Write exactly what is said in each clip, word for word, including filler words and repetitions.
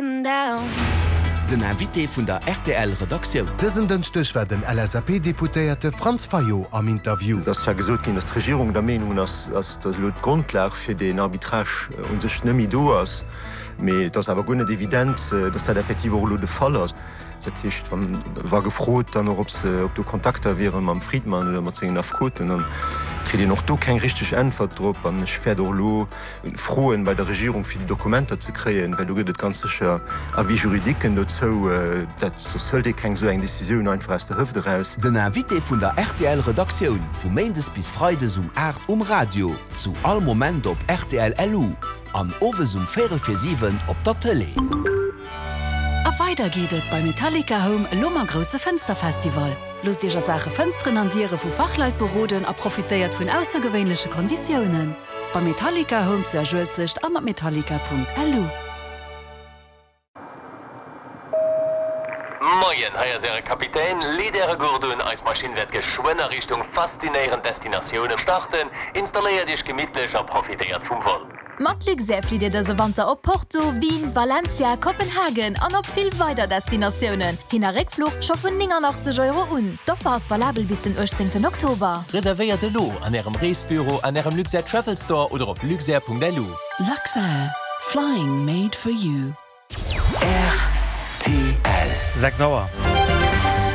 Den Invité vun der R T L Redaktioun. Dësen Dënschdeg war den L S A P-Deputéierte Franz Fayot am Interview. Et ass zwar gesot ginn, datt d'Regierung der Meenung ass, datt elo d'Grondlag fir deen Arbitrage u sech net méi do ass, mee et ass awer guer net evident, datt dat effektiv och elo de Fall ass. Dat heescht, wa gefrot dann och, ob se ob do Kontakter wiere mam Friedmann oder mat sengen Affekoten, dann kritt een och do keng richteg Äntwert drop. An ech wäert och elo froen bei der Regierung, fir déi Dokumenter ze kréien, well do gëtt et ganz sécher Avis-juridiquen dozou. Dat soss hëlt ee keng esou eng Decisioun einfach aus der Hëft eraus. Den Invité vun der R T L Redaktioun vu Méindes bis Freides um aacht um Radio, zu all Moment op R T L L U an owes um véierel vir siwen op der Tëlee. A weider geet et bei Metallica Home elo mam grousse Fënsterfestival. Loosst Iech a Saache Fënsteren an Diere vu Fachleit beroden a profitéiert vun aussergewéinleche Konditiounen. Bei Metallica Home zu Esch-Uelzecht an op metallica Punkt L U. Moien, hei ass Äre Kapitän. Leet Äre Gurt un, eis Maschinn wäert geschwënn a Richtung faszinéierend Destinatioune starten. Installéiert Iech gemittlech a profitéiert vum Vol. Mat Luxair flitt Dir dëse Wanter op Porto, Wien, Valencia, Kopenhagen an op vill weider Destinatiounen. Hin- a Réckfluch scho vun nénganachtzeg Euro un. D'Offer ass valabel bis den uechtzéngten Oktober. Reservéiert elo an Ärem Reesbüro, an Ärem Luxair Travel Store oder op luxair Punkt L U. Luxair, flying made for you. R T L. Sechs Auer.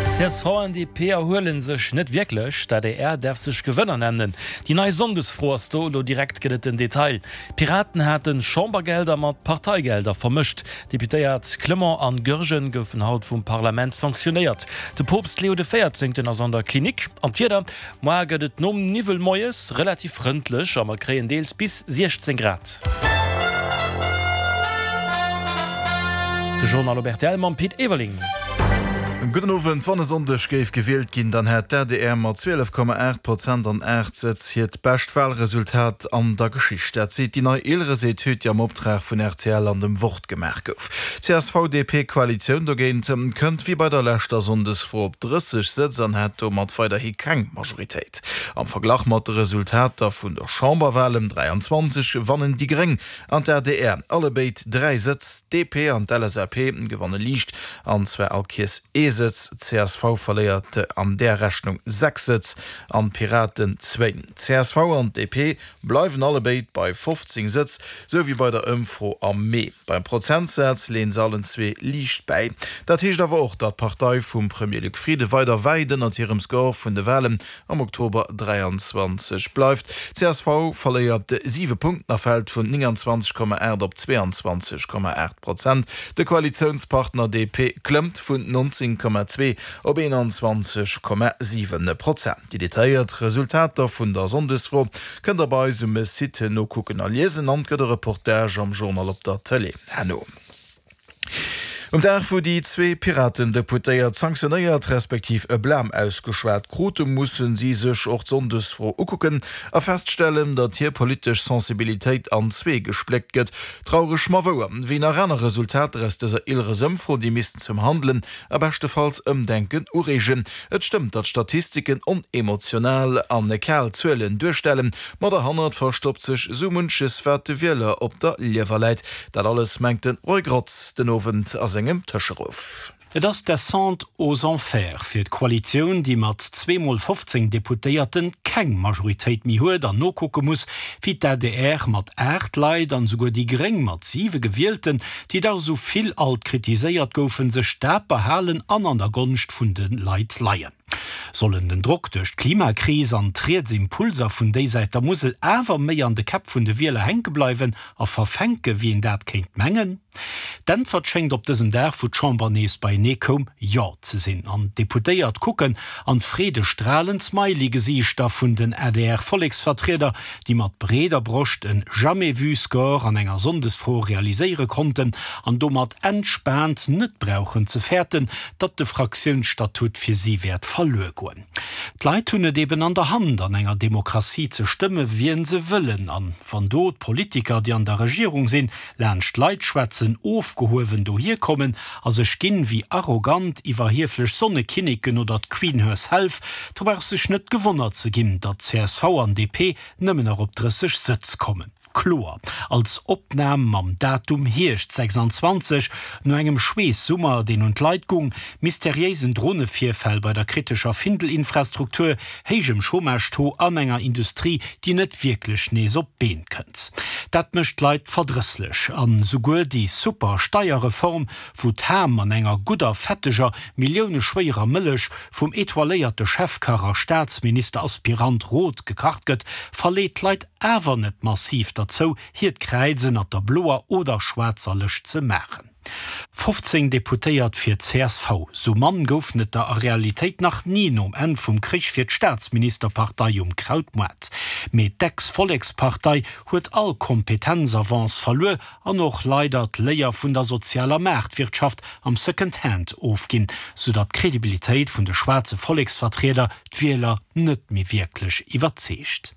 C S V an D P erhuelen sech net wierklech, d'A D R däerf sech Gewënner nennen. Déi nei Sonndesfro ass do, elo direkt gëtt et den Detail. Piraten haten Chambergelder mat Parteigelder vermëscht. Deputéiert Clement an Goergen goufen haut vum Parlament sanktionéiert. De Poopst Leo de Véierzéngten ass an der Klinik. An d'Wieder, Muer gëtt et nom Niwwel moies relativ frëndlech a mer kréien deels bis siechzéng Grad. De Journal op R T L mam Pit Everling. Gudden Owend. Wann e Sonndeg géif gewielt ginn, dann hätt d'A D R mat zwielef Komma aacht Prozent an aacht Sëtz hiert bescht Walresultat an der Geschicht. Dat seet déi nei Ilres-Etüd, déi am Optrag vun R T L an dem Wort gemaach gouf. D C S V D P-Koalitioun dogéint kënnt wéi bei der leschter Sonndesfro op drësseg Sëtz an hätt domat weiderhi keng Majoritéit. Am Verglach mat de Resultater vun der Chamberwalen dräianzwanzeg gewannen déi Gréng an d'A D R allebéid dräi Sëtz, D P an d'L S A P gewanne liicht, an zwar all Kéiers ee Sëtz, C S V verléiert an där Rechnung sechs Sëtz an d'Piraten zwéin. C S V an D P bleiwen allebéid bei fofzéng Sëtz, sou wéi bei der Ëmfro am Mee. Beim Prozentsaz leeën se allen zwee liicht bäi. Dat heescht awer och, datt d'Partei vum Premier Luc Frieden weider wäit ënnert hirem Score vun de Walen am Oktober dräianzwanzeg bleift. C S V verléiert siwe Punkten a fält vun nénganzwanzeg Komma aacht op zwéianzwanzeg Komma aacht Prozent. De Koalitiounspartner D P klëmmt vun nonzéng Komma zwee op eenanzwanzeg Komma siwen Prozent. Déi detailléiert Resultater vun der Sonndesfro kënnt der bei eis um Site nokucken a liesen an et gëtt e Reportage am Journal op der Tëlee herno. Um Dag, wou déi zwee Piraten-Deputéiert sanktionéiert respektiv e Blam ausgeschwat krute, mussen si sech och d'Sonndesfro ukucken a feststellen, datt hir politesch Sensibilitéit an zwee gespléckt gëtt. Traureg, ma wouer. Wéi nach aner Resultater aus dëser Ilres-Ëmfro, déi missten zum Handelen a beschtefalls Ëmdenken ureegen. Et stëmmt, datt Statistiken onemotional an kal Zuelen duerstellen, ma derhannert verstoppt sech sou munches, wat de Wieler op der Liewer läit. Dat alles mengt de Roy Grotz den Owend a sengem Tëscheruff. Et ass d'Descente aux enfers fir d'Koalitioun, déi mat zweemol fofzéng Deputéierten keng Majoritéit méi huet an nokucke muss, wéi d'A D R mat aacht Leit an esouguer déi Gréng mat siwe Gewielten, déi dach esou vill alt kritiséiert goufen, sech daper halen an an der Gonscht vun de Leit leien. Sollen den Drock duerch d'Klimakris an d'Riets-Impulser vun déi Säit der Musel awer méi an de Käpp vun de Wieler hänke bleiwen a verfänke wéi een dat kéint mengen? D'Äntwert schéngt op dësem Dag, wou d'Chamber nees beienee koum, jo ze sinn. An d'Deputéiert kucken an d'freedestralend Smiley-Gesiichter vun den A D R-Volleksvertrieder, déi mat breeder Broscht en Jamais-vu-Score an enger Sonndesfro realiséiere konnten an domat entspaant net brauchen ze fäerten, datt de Fraktiounsstatut fir si wäert verluer goen. D'Leit hunn et eben an der Hand, an enger Demokratie ze stëmme wien se wëllen, an wann do d'Politiker, déi an der Regierung sinn, laanscht d'Leit schwätzen, ofgehuewen dohierkommen a sech ginn wéi arrogant iwwerhieflech Sonnekinneken oder d'Queen herself, da brauch sech net gewonnert ze ginn, datt C S V an D P nëmmen nach op drësseg Sëtz kommen. kloer als Opnam mam Datum Hierscht sechsundzwanzeg, no engem Schweessummer, deen un d'Leit gung, mysteriéisen Dronevirfäll bei der kritescher Findel-Infrastruktur, héijem Chômage-Taux an enger Industrie, déi net wierklech nees op d'Been kënnt. Dat mécht d'Leit verdrësslech. An souguer déi super Steierreform, wou d'Ham an enger gudder, fetteger, milliouneschwéierer Mëllech vum etoiléierte Chefkach a Staatsminister-Aspirant Roth gekacht gëtt, verleet d'Leit awer net massiv derzou, hiert Kräiz ënnert der bloer oder schwaarzer Lëscht ze maachen. Fofzéng Deputéiert fir d'CSV, sou mann goufen et der a Realitéit nach ni nom Enn vum Krich fir d'Staatsministerpartei um Krautmoart. Mee d'Ex-Vollekspartei huet all Kompetenzavance verluer an och leider d'Léier vun der sozialer Maartwirtschaft am Second Hand ofginn, soudatt d'Credibilitéit vun de schwaarze Volleksvertrieder d'Wieler net méi wierklech iwwerzeegt.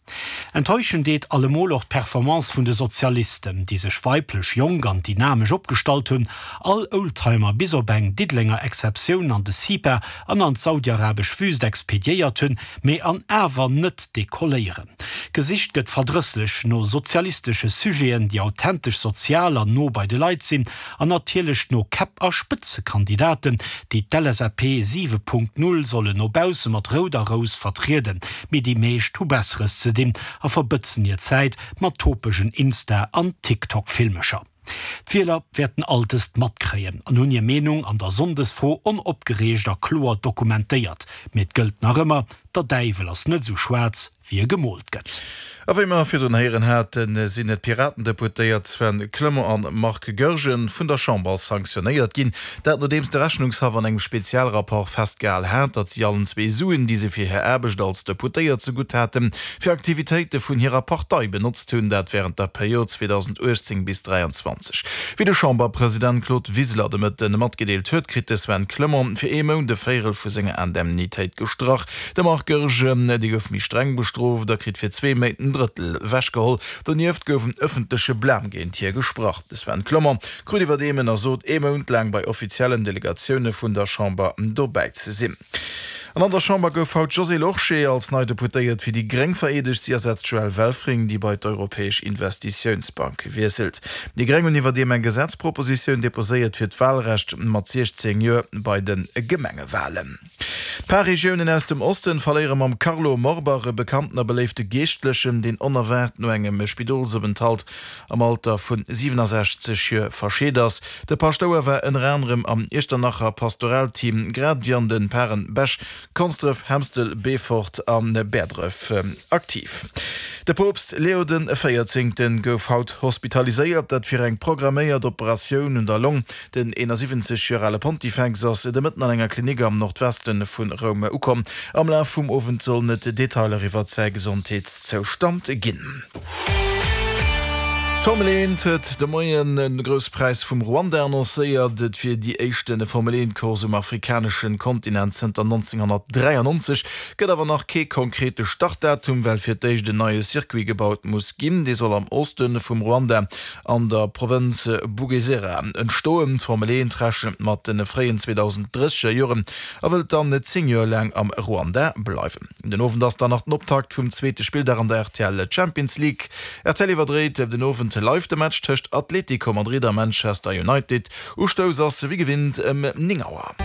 Enttäuschen deet allemol och d'Performance vun de Sozialisten, déi sech weiblech, jonk an dynamesch opgestallt hunn, all Oldtimer bis op eng Diddelenger Exceptioun an de CIPA an an d'saudiarabesch Wüst expediéiert hunn, mee an awer net dekolléieren. Gesicht gëtt verdrësslech no sozialistesche Sujeten, déi authentesch sozial an no bei de Leit sinn, an natierlech no Käpp a Spëtzekandidaten, déi d'LSAP siwe Punkt Null sollen no bausse mat rouder Rous vertrieden, mee déi meescht hu Besseres ze dinn a verbëtzen hir Zäit mat topegen Insta an TikTok-Filmecher. D'Wieler wäerten all dëst matkréien an hunn hir Meenung an der Sonndesfro onopgereegt a kloer dokumentéiert. Mee et gëllt nach ëmmer, Der Däiwel ass net esou schwaarz, wéi e gemoolt gëtt. A wéi mer virdrun héieren haten, sinn d'Piraten-Deputéiert Sven Clement an Marc Goergen vun der Chamber sanktionéiert ginn. Dat nodeems de Rechnungshaff an engem Spezialrapport festgehal hat, datt si allen zwee Suen, déi se fir hir Aarbecht als Deputéiert zegutt haten, fir Aktivitéite vun hirer Partei benotzt hunn, dat wärend der Period zweedausenduechtzéng bis dräianzwanzeg. Wéi de Chamberpresident Claude Wiseler de Mëtten matgedeelt huet, kritt de Sven Clement fir ee Mount e Véierel vu senger Indemnitéit gestrach. De Marc Goergen, dee gouf méi streng bestrooft a kritt fir zwee Méint en Drëttel ewechgeholl. Donieft gouf en ëffentleche Blam géint hie gesprach. De Sven Clement krut iwwerdeem ënnersot, ee Mount laang bei offiziellen Delegatioune vun der Chamber dobäi ze sinn. An an der Chamber gouf haut d'Josée Lorsché als nei Deputéiert fir déi gréng vereedegt. Si ersetzt d'Joëlle Welfring, déi bei d'Europäesch Investitiounsbank wiesselt. Déi gréng hunn iwwerdeem eng Gesetzpropositioun deposéiert fir d'Walrecht mat siechzéng Joer bei de Gemengewalen. D'Parregiounen aus dem Osten verléiere mam Carlo Morbach e bekannten a beléifte Geeschtlechen, deen onerwaart no engem Spidolsopenthalt am Alter vun siwenesechzeg Joer verscheet ass. De Paschtouer war ënner anerem am Iechternacher Pastoralteam, grad ewéi an de Paren Bech, Konsdref, Hemstel, Beefort a Bäerdref aktiv. De Poopst Leo den Véierzéngten gouf haut hospitaliséiert, dat fir eng programméiert Operatioun un der Long. Den eenasiwwenzeg Joer ale Pontifex ass de Mëtten an enger Klinik am Nordweste vu Roum ukomm. Am Laf vum Owend sollen et Detailer iwwert säi Gesondheetszoustand ginn. D'Formel eent huet de Moien de Grousse Präis vum Ruanda annoncéiert. Et wier déi éischte Formel eent Course um afrikanesche Kontinent zënter nonzénghonnertdräiannonzeg. Gëtt awer nach kee konkrete Startdatum, well fir d'éischt en neie Circuit gebaut muss ginn. Dee soll am Oste vum Ruanda an der Provënz Bugesera entstoen. D'Formel eent rechent mat de fréien zweedausenddrësseger Joren a wëllt dann zéng Joer laang am Ruanda bleiwen. Den Owend ass dann nach den Optakt vum zweete Spilldag an der R T L Champions League. R T L iwwerdréit den Owend live de Match tëscht Atlético Madrid a Manchester United. Ustouss ass wéi gewinnt ëm néng Auer.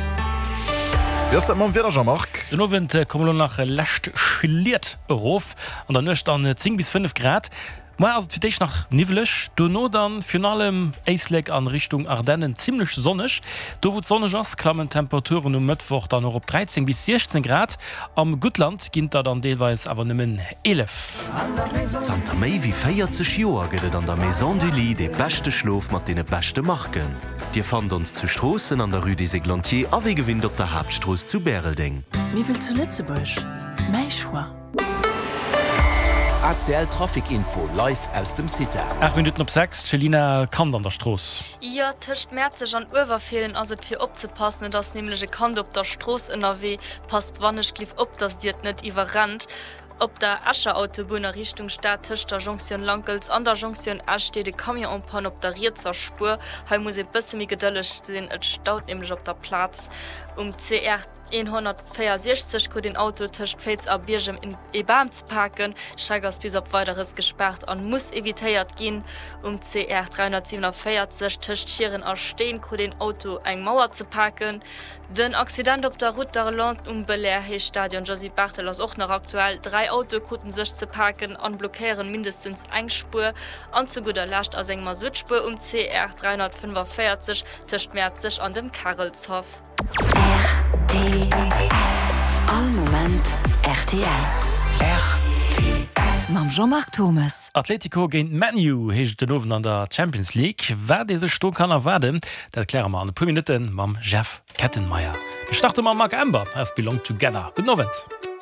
Wéi ass dat mam Wieder, Jean-Marc? Den Owend komme lo nach lescht Schliet erof, an der Nuecht dann zéng bis fënnef Grad. Muer ass et fir d'éischt nach niwweleg, dono dann virun allem Éislek an Richtung Ardennen zimmlech sonneg. Do wou et sonneg ass, klammen d'Temperaturen um Mëttwoch dann och op dräizéng bis siechzéng Grad, am Guttland ginn et der dann deelweis awer nëmmen eelef. Zanter méi wéi véierzeg Joer gëtt et an der Maison du Lit dee beschte Schlof mat deene beschte Marken. Dir fannt ons zu Stroossen an der Rue des Églantiers a wéi gewinnt op der Haaptstrooss zu Bäreldeng. Miwwel zu Lëtzebuerg, Mäi Choix. A C L Trafic Info live aus dem CITA. Aacht Minutten op sechs, d'Chelina, Kand an der Strooss. Jo, tëscht Mäerzeg an Uewerfeelen ass et fir opzepassen. Et ass nämlech e Kand op der Strooss ënnerwee. Passt wannechgelift op, dass dir et net iwwerrennt. Op der Escher Autobunn a Richtung Stad tëscht der Jonktioun Lankels an der Jonktioun Esch steet e Camion en panne op der rietser Spuer. Hei muss ee bësse méi gedëlleg sinn, et staut nämlech op der Plaz. Um C R N honnertvéierundsechzeg krut een Auto tëscht Féiz a Biergem ee Bam ze paken. D'Streck ass bis op Weideres gespaart an muss evitéiert ginn. Um C R dräihonnertsiewenavéierzeg tëscht Schieren a Steen krut een Auto eng Mauer ze paken. Den Accident op der Route d'Arlon um Belair Héich Stadion Josy Barthel ass och nach aktuell. Dräi Autoe kruten sech ze paken an blockéieren mindestens eng Spuer. An zu gudder Lescht ass eng Masuttspuer um C R dräihonnertfënnefenvéierzeg tëscht Mäerzeg an dem Karelshaff. Rtl, All Moment rtl. Rtl. Mam Jean-Marc Thommes. Atletico géint ManU heescht et den Owend an der Champions League. Wat ee sech do kann erwaarden, dat kläre mer an e puer Minutte mam Jeff Kettenmeyer. Mir starte mam Marc Amber, Us Belong Together. Gudden Owend.